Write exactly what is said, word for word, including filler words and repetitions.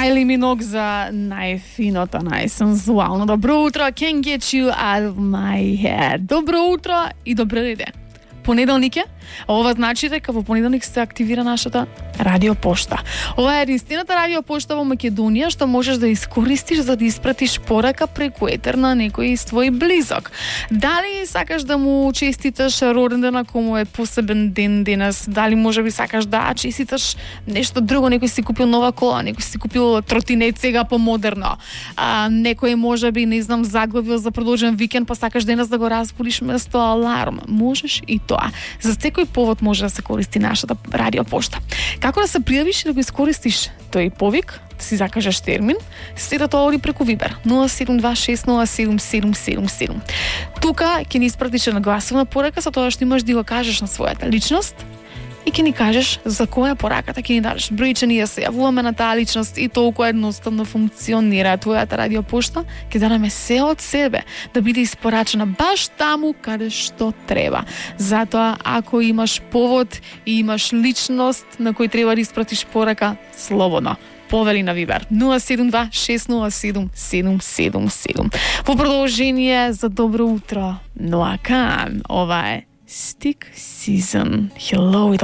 Kylie Minogue за најфиното, најсензуално добро утро. Can't get you out of my head. Добро утро и добро иде. Понеделник е, а ова значи дека во понеделник се активира нашата радиопошта. Ова е единствената радиопошта во Македонија што можеш да искористиш за да испратиш порака преку етер на некој твој близок. Дали сакаш да му честиташ роденден ако му е посебен ден денес, дали можеби сакаш да честиташ нешто друго, некој си купил нова кола, некој си купил тротинет сега помодерно, а, некој можеби, не знам, заглавил за продолжен викенд, па сакаш денес да го разбудиш место аларм. Можеш и тоа. За секој повод може да се користи нашата радиопошта. Како да се пријавиш и да го искористиш тој повик, да си закажеш термин, сето тоа оди преку Вибер нула седум два шест нула седум седум седум седум. Тука ќе ни испратиш една гласовна порака со тоа што имаш да го кажеш на својата личност и ќе ни кажеш за која пораката ќе ни дадеш. Бројче ние се јавуваме на таа личност и толку едноставно функционира твојата радиопошта, ќе дадеме се од себе да биде испорачена баш таму каде што треба. Затоа, ако имаш повод и имаш личност на кој треба да испратиш порака, слободно повели на Вибер нула седум два шест нула седум седум седум седум. Во продолжение за добро утро, Ноа Каан, ова е Stick Season. Hello.